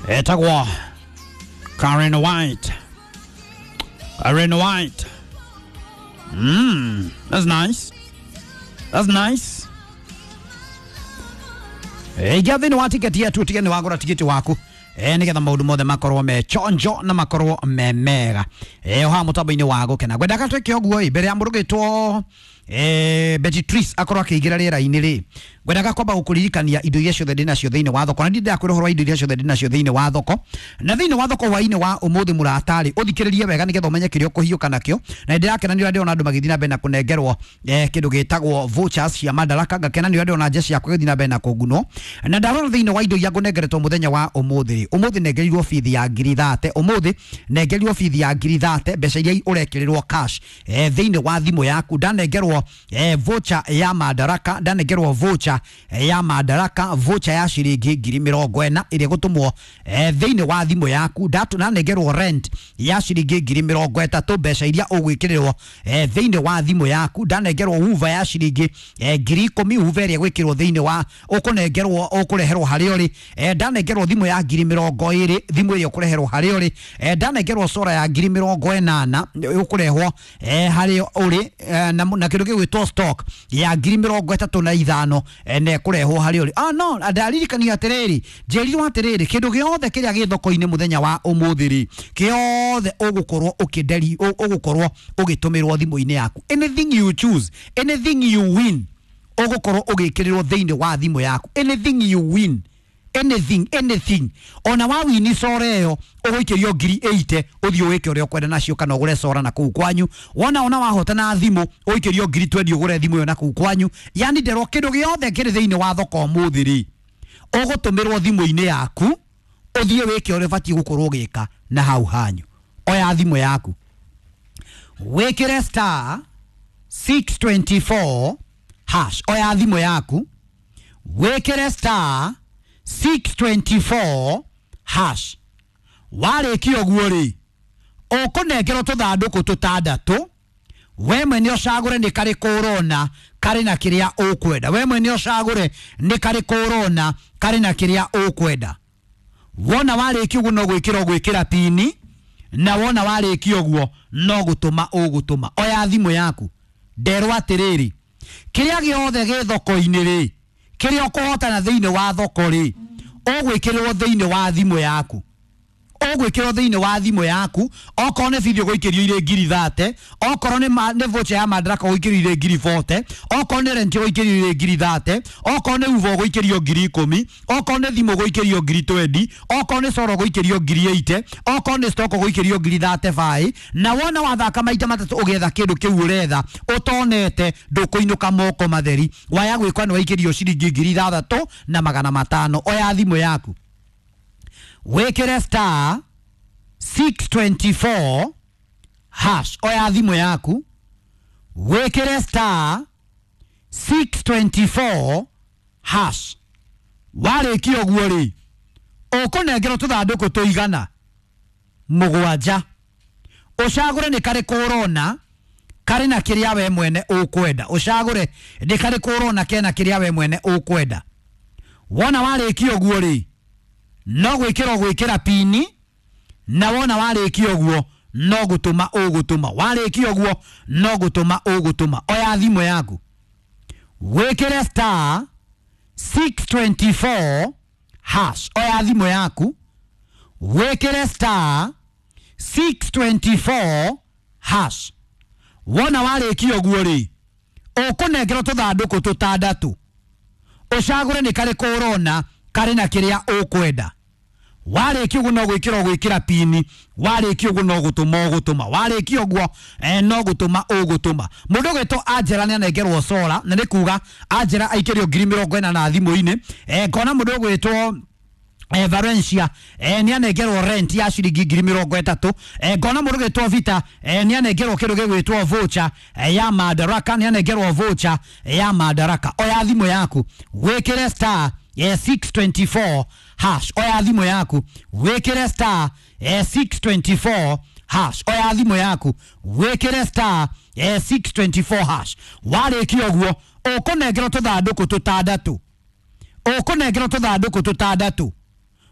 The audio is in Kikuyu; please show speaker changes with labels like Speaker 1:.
Speaker 1: Etagwo Karen White. Karen White. That's nice. That's nice. Ingia thĩinĩ wa tiketi yetu ũtige nĩ wagũra tiketi waku nĩgetha maũndũ mothe makorwo me chonjo na makorwo me mega o haha mũtambo-inĩ wa gũkena ngwendaga twĩke ũguo ĩ mbere ya mũndũ gĩtwo Betty Tris akorwo akĩingĩra rĩera-inĩ rĩ, ngwendaga kwamba gũkũririkania indo iria ciothe ndĩ nacio thĩinĩ wa thoko, na ndindakwĩra ũhoro wa indo iria ciothe ndĩ nacio thĩinĩ wa thoko. Na thĩinĩ wa thoko hwaĩ-inĩ wa ũmũthĩ, mũratarĩ ũthikĩrĩrie wega nĩgetha ũmenye kĩrĩa ũkũhiũka nakĩo. Na nĩndĩrakena nĩ ũrĩa ndĩrona andũ magĩthiĩ na mbere na kũnengerwo kĩndũ gĩtagwo vouchers cia Madaraka. Ngakena nĩ ũrĩa ndĩrona njeci yakwa ĩgĩthiĩ na mbere na kũngunwo. Na ndarora thĩinĩ wa indo iria ngũnengeretwo mũthenya wa ũmũthĩ rĩ, ũmũthĩ nengerirwo bithi ya 30,000. Ũmũthĩ nengerirwo bithi ya 30,000, mbeca iria ũrekĩrĩrwo cash thĩinĩ wa thimũ yaku. Ndanengerwo voucher ya Madaraka, ndanengerwo voucher ya Madaraka, voucher ya ciringi 40,000 ĩrĩa ĩgũtũmwo thĩinĩ wa thimũ yaku. Ndanengerwo rent ya ciringi 30,000, mbeca iria ũgwĩkĩrĩrwo thĩinĩ wa thimũ yaku. Ndanengerwo uva ya ciringi 10,000, uva ĩrĩa ĩgwĩkĩrwo thĩinĩ wa ũkũnengerwo ũkũreherwo harĩa ũrĩ. Ndanengerwo thimũ ya 20,000, thimũ ĩrĩa ũkũreherwo harĩa ũrĩ. Ndanengerwo sora ya 80,000 ũkũrehwo harĩa ũrĩ, na kĩndũ gĩgwĩtwo stock ya 35,000 na ĩkũrehwo harĩa ũrĩ. Ah, no ndaririkania atĩrĩrĩ, njĩrirwo atĩrĩrĩ, kĩndũ gĩothe kĩrĩa gĩ thoko-inĩ mũthenya wa ũmũthĩ rĩ, kĩothe ũgũkorwo ũkĩnderi ũgũkorwo ũgĩtũmĩrwo thimũ-inĩ yaku. Anything you choose, anything you win, ũgũkorwo ũgĩkĩrĩrwo thĩinĩ wa thimũ yaku. Anything you win, anything, anything, ona wa wini sora ĩyo ũgũikĩrio 80,000 ũthiĩ wĩke ũrĩa ũkwenda nacio, kana ũgũre sora na kũu kwanyu. Wona ona wahotana thimũ, ũikĩrio 20,000 ũgũre thimũ ĩyo na kũu kwanyu. Yani nderwo kĩndũ gĩothe kĩrĩ thĩinĩ wa thoko ũmũthĩ rĩ, ũgũtũmĩrwo thimũ-inĩ yaku ũthiĩ wĩke ũrĩa ũbatiĩ gũkorwo ũgĩka na hau hanyu. Oya thimũ yaku, wĩkĩre star 624 hash. Oya thimũ yaku, wĩkĩre star 624 hash. Warĩkia ũguo rĩ, ũkũnengerwo tũthandũkũ tũtandatũ. We mwene ũcagũre nĩ karĩkũ ũrona karĩ na kĩrĩa ũkwenda. We mwene ũcagũre nĩ karĩkũ ũrona karĩ na kĩrĩa ũkwenda. Wona warĩkia ũguo no gwĩkĩra ũgwĩkĩra pini, na wona warĩkia ũguo no gũtũma ũgũtũma. Oya thimũ yaku, nderwo atĩrĩrĩ, kĩrĩa gĩothe gĩ thoko-inĩ rĩ, kĩrĩa ũkũhotana thĩinĩ wa thoko rĩ, ũgwĩkĩrĩrwo thĩinĩ wa thimũ yaku, ũgwĩkĩrwo thĩinĩ wa thimũ yaku. Okorwo nĩ video ũgũikĩrio irĩ 30,000, okorwo nĩ voucher ya Madaraka ũgũikĩrio irĩ 40,000, okorwo nĩ rent ũgũikĩrio irĩ 30,000, okorwo nĩ uva ũgũikĩrio 10,000, okorwo nĩ thimũ ũgũikĩrio 20,000, okorwo nĩ sora ũgũikĩrio 80,000, okorwo nĩ stock ũgũikĩrio 35,000. Na wona wathaka maita matatũ ũgĩetha kĩndũ kĩu ũretha ũtonete, ndũkũinũka moko matheri. Waya gwĩkwa nĩ waikĩrio ciringi 6,500. Oya thimũ yaku, wĩkĩre star 624 hash. Oya thimũ yaku, wĩkĩre star 624 hash. Warĩkia ũguo rĩ, ũkũnengerwo tũthandũkũ tũigana mũgwanja, ũcagũre nĩ karĩkũ ũrona karĩ na kĩrĩa we mwene ũkwenda. Ũcagũre nĩ karĩkũ ũrona kena kĩrĩa we mwene ũkwenda. Wona warĩkia ũguo rĩ, no gwĩkĩra ũgwĩkĩra pini, na wona warĩkia ũguo no gũtũma ũgũtũma. Warĩkia ũguo no gũtũma ũgũtũma. Oya thimũ yaku, wĩkĩre star 624 hash. Oya thimũ yaku, wĩkĩre star 624 hash. Wona warĩkia ũguo rĩ, ũkũnengerwo tũthandũkũ tũtandatũ, ũcagũre nĩ karĩkũ ũrona karĩ na kĩrĩa ũkwenda. Warĩkia ũguo no gwĩkĩra ũgwĩkĩra pini, warĩkia ũguo no gũtũma ũgũtũma, warĩkia ũguo no gũtũma ũgũtũma. Mũndũ ũgwĩtwo Angela nĩ anengerwo sora, na nĩ kuga Angela aikĩrio 40,000 na thimũ-inĩ. Ngona mũndũ ũgwĩtwo Valencia nĩ anengerwo rent ya ciringi 30,000. Ngona mũndũ ũgwĩtwo Vita nĩ anengerwo kĩndũ gĩgwĩtwo voucher ya Madaraka, nĩ anengerwo voucher ya Madaraka. Oya thimũ yaku, wĩkĩre star 624 hash. Oya thimũ yaku, wĩkĩre star 624 hash. Oya thimũ yaku, wĩkĩre star 624 hash. Warĩkia ũguo ũkũnengerwo tũthandũkũ tũtandatũ, ũkũnengerwo tũthandũkũ tũtandatũ.